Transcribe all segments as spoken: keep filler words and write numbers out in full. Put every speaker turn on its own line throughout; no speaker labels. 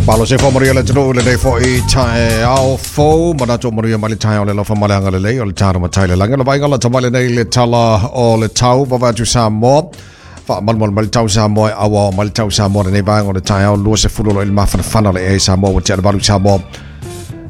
Malo se fo maria le tunu le nei fo i tae ao fo manato maria mali tae o le lofa maleanga le lei o le taro matai le langa le vainga la tamale nei le tala o le tau vavatu Samoa fa malmal mali tau Samoa awa mali tau Samoa nei vainga o le tae ao lua se fulu lo il mafana le e Samoa o te valu Samoa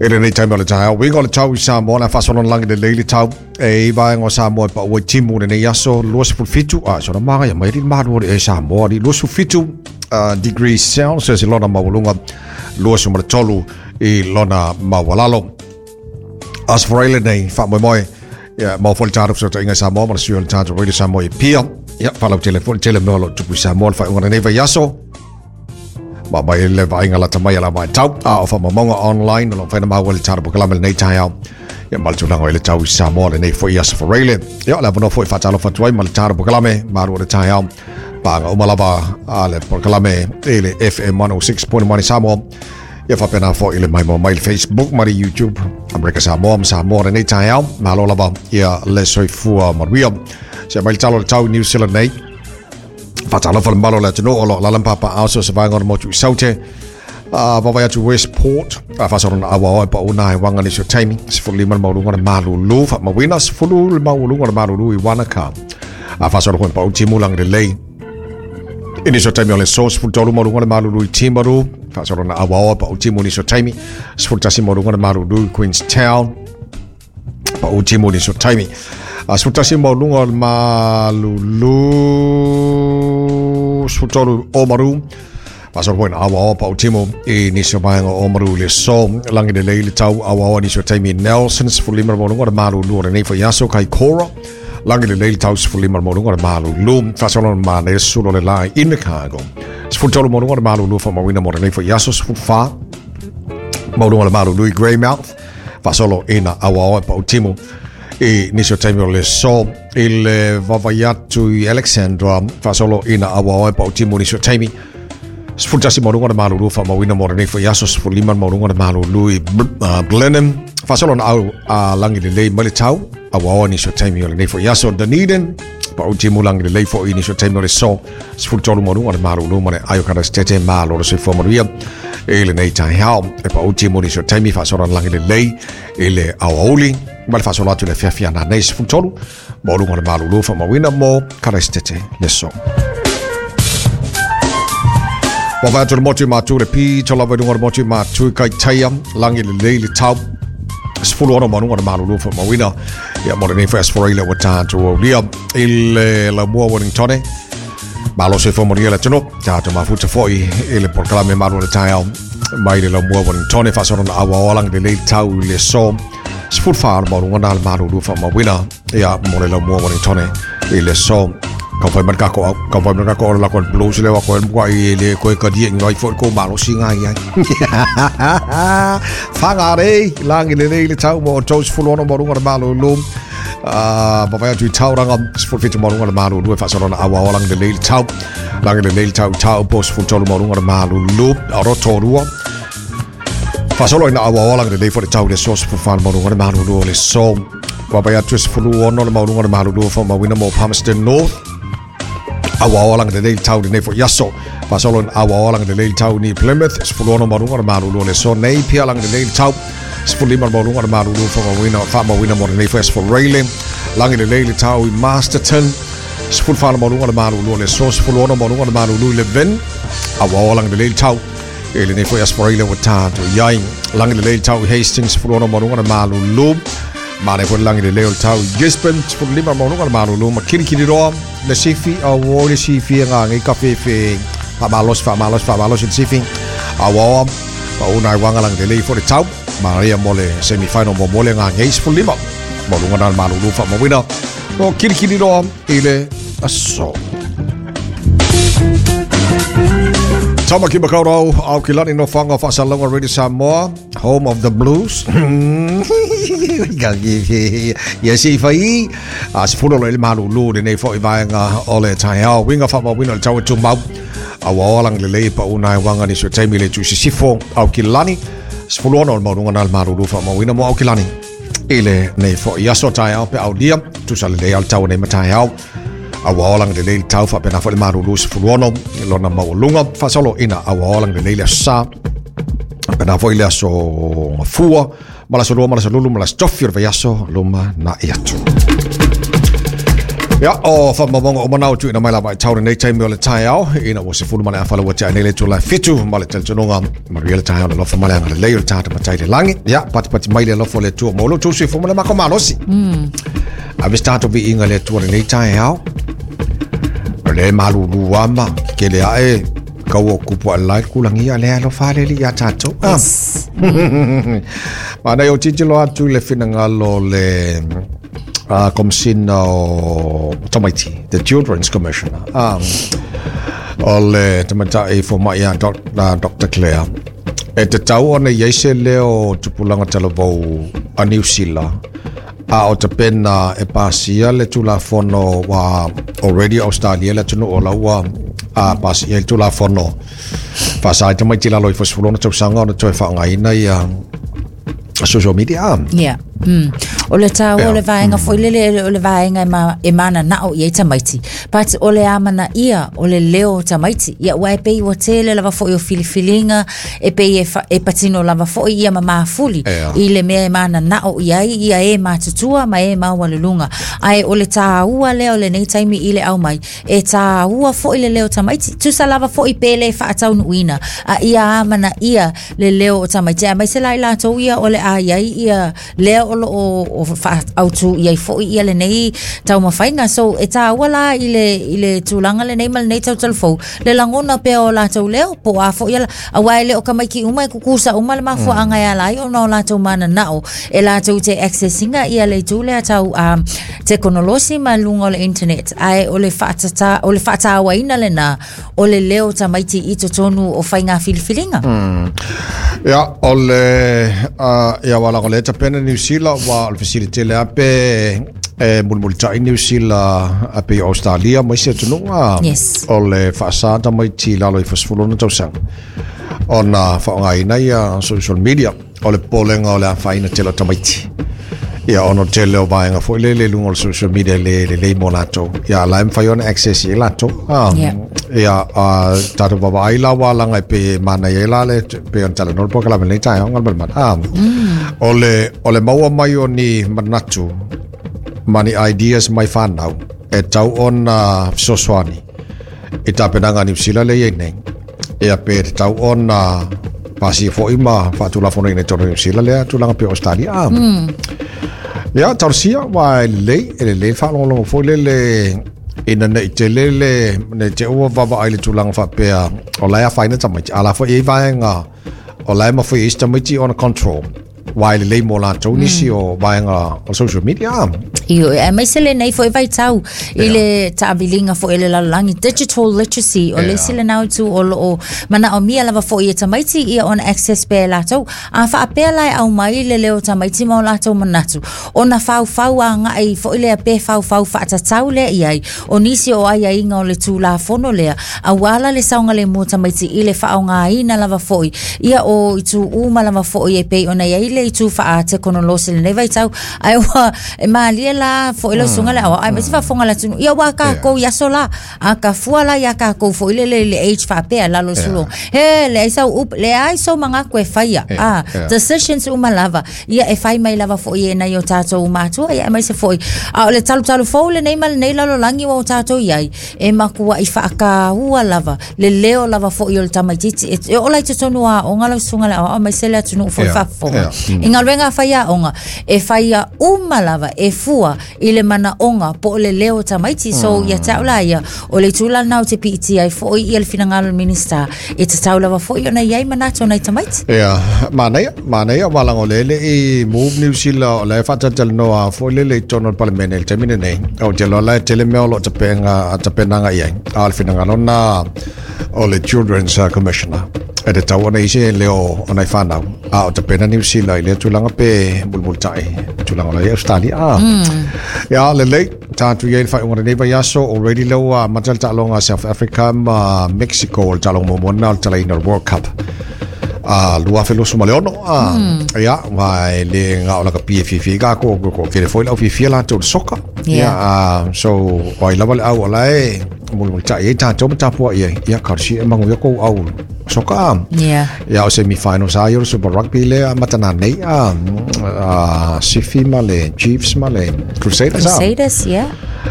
e le nei taima le tae ao winga o le tau i Samoa na fasolon langi le leili tau e vainga o Samoa pa ua timu le nei aso lua se fitu a so na manga ia mai malu o le e Samoa li lua se fitu Uh, degrees Celsius i lona mawalunga lua sumara tolu i lona mawalalo. As for ele nei, wha moi moi, ia, mau foli tāru so inga Samoa, ma le suo le tāru Radio Samoa i pia. Ia, whalau tele foli tele mea lo tupu Samoa, wha unga nei vai aso. Ma mai le vainga lata mai ala mai tau, a o wha mamonga online, lo whaina maua le tāru pokalame le nei tai au. Ia, ma le tūlanga i le tau i Samoa le nei fo i as for ele. Ia, le avono fo i whatalo whatuai ma le tāru pokalame, maru o le tai au. Panga umalava a le pokalame e le F M one oh six point one Samoa. Ia whapena fo i le mai mo mai le Facebook, mai le YouTube, Amerika Samoa, ma Samoa le nei tai au. Malo lava ia le soifua manuia. Se mai le talo le tau New Zealand nei. Whatalo wha le malo le atunu o lo lalampapa au so se vainga o le motu i saute. Uh, vavai atu Westport, a whasorona awa oe pa una e wanga ni so taimi, se fulu lima le maulunga le malulu, wha mawina se fulu le maulunga le malulu i Wanaka. A whasorona koe pa utimu langi le lei. Ini so taimi o le so, se fulu tolu maulunga le malulu i Timaru, whasorona awa oe pa utimu ni so taimi, se fulu tasi maulunga le malulu i Queenstown, pa utimu ni so taimi. A se fulu tasi maulunga le malulu, se fulu tolu o maru, Pasor poin awa awa pa utimo i niso vaenga o maru le so langi le leile tau awa awa niso taimi Nelson se fulu lima maulunga le malulu o le nei fo iaso kai Kora langi le leile tau se fulu lima maulunga le malulu fasolon ma ne sulo le lai in Chicago se fulu tolu maulunga le malulu fa mawina mo le nei fo iaso se fulu fa maulunga le malulu i Greymouth fasolo ina awa awa pa utimo i niso taimi o le so i le vavaiatu i Alexandra fasolo ina awa awa pa utimo niso taimi Sfultasi maulunga le malulu fa mawina mo le nei fo iaso se fulu lima maulunga le malulu i Blenheim fasolo na au a langi le lei mai le tau awa awa niso taimi o le nei fo iaso Dunedin pa utimu langi le lei fo i niso taimi o le so se fulu tolu maulunga le malulu ma le aio kana stete malo le soifua manuia e le nei tai hao e pa utimu niso taimi fasolo na langi le lei i le awauli ma le fasolo atu le fiafia na nei se fulu tolu maulunga le malulu fa mawina mo kana stete le so. Wa atu le motu mātu le pito lava i lunga le motu mātu kai teia langi le lei le tau se fulu ono maununga le malulu fa mawina ia mo le nei fo asforeile wa tātou au lia i le laumua Wellingtone malo se fo moria le tunu tātou mafuta foi i le pokalame malu le tai au mai le laumua Wellingtone faasolo na awa awa langi le lei tau i le so se fulu wha le maununga na le malulu fa mawina ia mo le laumua Wellingtone i le so. Ka whai man kako au, ka whai man kako o la koe blues le wa koe mkua i le koe kadia ngai fo ko malo si ngai ai. Whangarei, langi le lei le tau mo tau se fulu ono maurunga le malulu. Ah, uh, atu i tauranga, se fulu fitu maurunga le malulu e whasorona awa awa langi le lei le tau. Langi le lei le tau tau po se fulu tolu maurunga le malulu, a Rotorua. Whasolo ina awa awa langi le lei fo le tau le so se fulu whana maurunga le malulu o le so. Wawai atu se fulu ono le maurunga le malulu fo mawina mo Palmerston North. Awa awa langi le lei tau le nei fo iaso. Fasolo awa awa langi le lei tau ni Plymouth. Se fulu ono maurunga le malulu le so nei pia langi le lei tau. Se fulu lima maurunga le malulu fo mawina fa mawina mo le nei fo as for Rayleigh. Langi le lei tau i Masterton. Se fulu whana maurunga le malulu le so. Se fulu ono maurunga le malulu i Levin. Awa awa langi le lei tau e le nei fo as for Rayleigh wa tātou iai. Langi le lei tau i Hastings. Se fulu ono maurunga le malulu. Mane fo langi le leo tau Gisborne, se fulu lima maurunga le malulu ma kirikiri roa le sifi a o le sifi ngā ngi ka fefe pa malos fa malos fa malos le sifi a o pa una wanga langi le lei fo le tau maria mo le semi final mo mo le ngā ngi se fulu lima maurunga na malulu fa mawina o kirikiri roa i le aso. Tamaki Makaurau, au ki lani no whanga whasalonga Radio Samoa, home of the blues. Ia si whai, a se fulu le malulu le nei fo i vaenga o le tai ao, winga wha mawina le tau e tumau, a waolang le lei pa unai wanga ni so taimi le tu sisifo au ki lani, se fulu ono le maurunga na le malulu wha mawina mo au ki lani. I le nei fo i aso tai ao pe au lia, tusa le lei au le tau nei matai ao. Awa awa langi le lei tau wha pena fo le malulu se fulu ono, lona maualunga, fasolo ina awa awa langi le lei le sa. Pena foi le aso fua, malaso lua, malaso lulu, malaso tofi o le vaiaso, luma na i atu. Ia, o whamawonga o manau tu ina mai lava i tau nei taimi o le taeao, ina ua se fulu male awhala ua tea nei le tula fitu, ma le teletonoga, maria le taeao le lofa male anga le lei o le tāta matai le langi. Ia, patipati mai le lofa le tua molo, tū sui fuma le mako malosi. Mm. A vis tātou vi inga le tua le nei taeao, le malulu ama, ke le ae, kau o kupu a lai kulangi a lea alofa le li ia tātou.
Yes.
Ma nei o titilo atu le finangalo le uh, komisina o Tamaiti, the Children's Commissioner. Um, o le tamatai fo mai a Doctor Claire. E te tau ona iai se leo tupulanga talavou a New Zealand. A o te pena e pasia le tulafono wa already Australia le tunu o laua a pasia le tulafono. Whasai tamaiti lalo i fosfulona tausanga ona toe whaangaina ia social media.
Yeah. Mm. O le tāua o le vaenga foi lele o le vaenga e, ma, e mana nao i ei tamaiti. But o le amana ia o le leo tamaiti. Ia ua e pei ua tele lava foi o filifilinga e pei e, fa, e patino lava foi ia ma mafuli.
Yeah.
I le mea e mana nao i ai ia e matutua ma e maua lulunga. Ai o le tāua leo le nei taimi i le au mai. E tāua foi le leo tamaiti. Tusa lava foi pele whaataunuina. A ia amana ia le leo o tamaiti. A mai se lai lātou ia o le ai ai ia leo o o whaautu i ai foi ia le nei taumawhainga. So e tāua la i le, i le tūlanga le nei ma le nei tautalofou le langona pea o lātou leo po a foi ala a wai le o kamaiki uma e kukusa uma le mafua mm. anga ia lai o na o lātou mana nao e lātou te accessinga ia le tū lea tau um, tekonolosi ma lunga o le internet ai o le whaatata, o le whaataawaina le nā o le leo tamaiti i totonu o whainga filifilinga.
Mm. Ia, o le uh, ia wala o le tapena New Zealand wa o le facility le ape e mulimulitai New Zealand ape i Australia mai se atunuga.
Yes.
O le faasata mai ti lalo i fasifulona tausaga ona faaaogaina ia social media o le polega o le afaina tele o tamaiti. Ia ono tele o vaega foi lele luga o le social media le lelei mo latou. Ia la e mafai ona access i latou. Um,
yeah.
Ia tatou vavaai la ua laga e pe manaia ai la le pe ona talanoa le polokalame lenei taeao galumalemana. Um,
mm.
O le o le maua mai o ni manatu ma ni ideas mai whanau e tau ona fesoasoani i tapenaga a Niu Sila le iai nei. Ia pe te tau ona pasia foi ma faatulafonoina i totonu o Niu Sila lea tulaga pe Australia. Ah.
Mm.
Ia, tausia, wa e lelei, e lelei whaalongolongo foi lele ina nei te lele, nei te ua vava ai le tulaga faapea o lae afaina tamaiti. A la foi ei vaega o lae mafai ai si tamaiti ona control. Wa e lelei mo latou nisi o vaega o social media.
Io, e mai se le nei foi vai tau i le taabiliga foi le lalolagi digital literacy o le isi lenā itu o loo manaomia lava foi e tamaiti ia ona access pea e latou a faapea la e aumai le leo tamaiti ma o latou manatu ona faufau agai foi lea pe faufau faatatau lea i ai o nisi o aiaiga o le tulafono lea auā la le saogalemu tamaiti i le faaaogaina lava foi ia o itu uma lava foi e pei ona iai le itu faatekonolosi lenei vaitau ai ua e malie la foi le usuga le aoao ai ma se faafofoga le atunu ia ua kākou i aso la a ka fua la ia kākou foi le le le age faapea lalo sulo he le ai sau up le ai sau magaku e faia a decisions uma lava ia e fai mai lava foi e nai o tātou matua ia mai se foi a o le talutalu fou lenei ma lenei lalolagi ua o tātou iai e makua i faakaua lava le leo lava foi o le tamaititi e ola i totonu aoga lau susuga le aoao mai se le atunuu foi faafofoga i galuega a fai aoga e faia uma lava e fua i le manaoga po o le leo tamaiti. So ia te au la ia o le itu lana o te piitia ai foi ia le finagalo o le minista e tatau lava foi ona iai manatu o nai tamaiti.
Ia, manaia, manaia walago lele i move New Zealand o le faatatalanoa foi lele i totonu o le palemene i le taimi lenei. O te loa la e tele mea o loo tapenaga tapenaga i ai. A o le finagalo na o le Children's Commissioner. E te tau ona ise leo o nai whanau. A o tapena New Zealand i lea tulaga pe mulimulitai tulaga o la i Australia. Ah.
Mm.
Ia, lelei, tātou iai le whaiunga lenei vaiaso, already leo a mata le taaloga a South Africa ma Mexico o le taaloga muamua lena o le talaina o le World Cup. a lua afe luasu ma le ono a ia wa e le nga o la ka pie fifi ka ko ko ke le foi lau fifi la tau soka ia so oi lava le au ala e mulu mulu tai e tātou ma tapua ia ia ka si e mangu ia kou au soka
ia
ia o semi-final sa ia o Super Rugby le matana nei a Sifi ma le Chiefs ma le Crusaders
Crusaders ia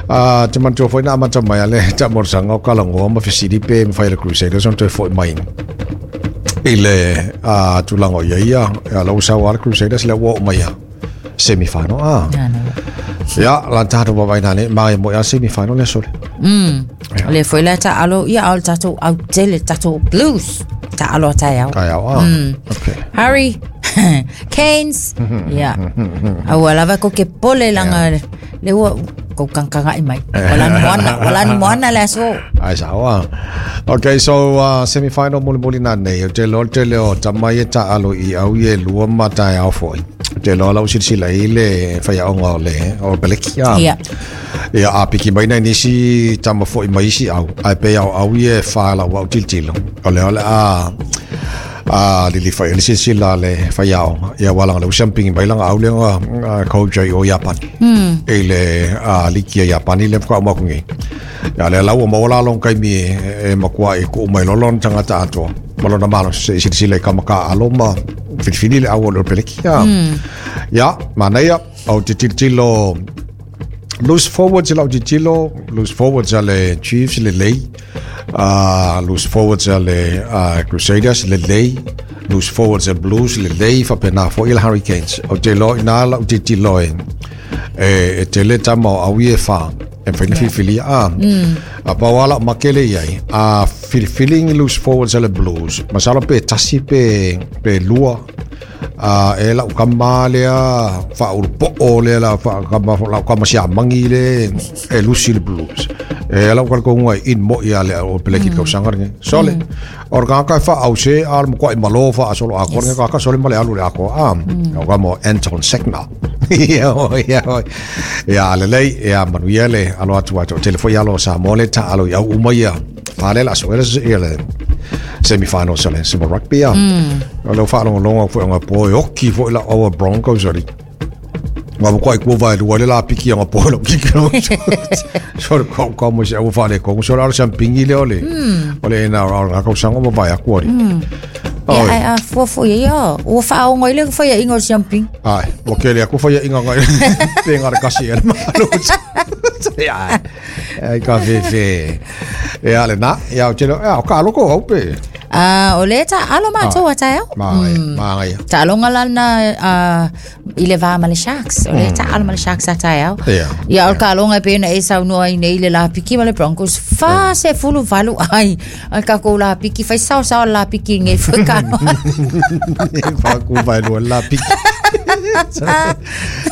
a te mantua foi na amata mai ale ta morsanga o kalangoa ma fesili pe ma whai le Crusaders on toe foi mai i le a tulaga ia ia ia lau sau a le Crusaders le ua o mai ia semi-final a ia la tātou wawaina ne mai mo ia semi-final le sole
mm le foi la ta alo ia au tātou au tele tātou Blues ta alo tai au
tai au a okay
Harry Canes ia au lava ko ke pole langa le ua ko kankanga i mai wala moana wala moana le aso
ai sawa. Okay, so uh, semi-final muli muli na nei o te lo te leo tamai e ta alo i au ye lua mata au foi te lo lau silasila i le whaiaonga o le o Peleki a
yeah.
Ia a piki mai nei nisi tama foi mai isi au ai pe au au ye wha lau au tiltilo o le ole a a lili whai le silasila le whaiaonga ia walanga le usampingi mai langa au lenga coach o Japani mm. E le a liki a Japani le whaka umakungi ia le lau o maola long kaimi e makua e ku mai lolon tangata atoa malona malo se silasila i kamaka alo ma filifili le au o le Peleki ia ia manaia au te tiltilo loose forwards lau tiltilo loose forwards ale Chiefs le lei uh, loose forwards ale uh, Crusaders le lei loose forwards ale Blues le lei whapena fo il Hurricanes o te lo ina lau tiltilo e e te le tama o au i e wha e whaina filifili a a pawala makele iai a filifili loose forwards ale Blues masalo pe tasi pe pe lua a e lau kama lea whauru lea la kama lau kama sia mangi le e lusi le Blues e lau kalko ngai in mo ia le o peleki kau sanga nge sole or ka ka fa au se al mo ko malo fa solo a ko ka ka sole male alu le ako a o ka mo Anton Segner ia ia ia le lei ia manuia le alo atu atu telefo ia lo sa mole ta alo ia uma ia fale la so ia le semi-final sole Super Rugby a o leo whaalongo fo nga po oki fo la our Broncos ali ma ko ko vai lu le la piki nga po lo ki so ko ko mo se o fale ko so la champingi le ole ole na ra ko sango mo vai akori
ia ai a fo fo ia o fa o ngoi le fo ia ingo champing
ai o ke le ko fo ia ingo ngai pe nga kasi ele ma lo ia ai ka fe fe ia le na ia o telo ia o ka loko au pe
Ah, o le ta alo ma toa tae au.
Ma ma ia.
Ta alonga lana i le va ma le Sharks. O le ta alo ma le Sharks a tae au. Ia o ka alonga pe na e sau noa i nei le la piki ma le Broncos. Fa se fulu valu ai. Ai ka ko la piki fai sao sao la piki nge fuka.
Fa ku vai lo la piki.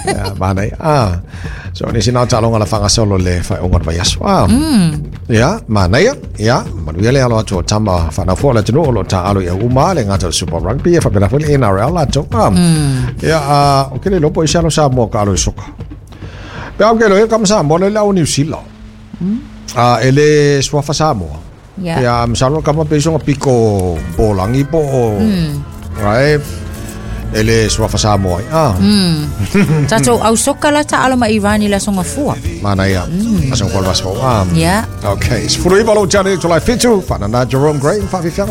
Ya ma nei. Ah. So ni sina ta alonga la fanga solo le fa onga vai aso. Ah. Ia, manaia, ia, manuia le alo atu o tama whanau la tenu o lo ta alo ia uma le ngata Super Rugby e whapena fo le N R L la tau. Ia, o kele lopo i alo sa mua ka alo i soka. Pea o kele e kama sa mua le lau New Zealand. A ele suafa Samoa. Ia, msalo kama peisonga piko bolangi po o. Rai, ele suafa Samoa. Ah.
Tatou au soka la ta alo ma Irani la songa fua.
Mana ia. Asong kwalvas fo. Ah.
Yeah.
Okay. Sfuru iba lo jani to lai fitu. Whanana Jerome Gray. Whafifianga.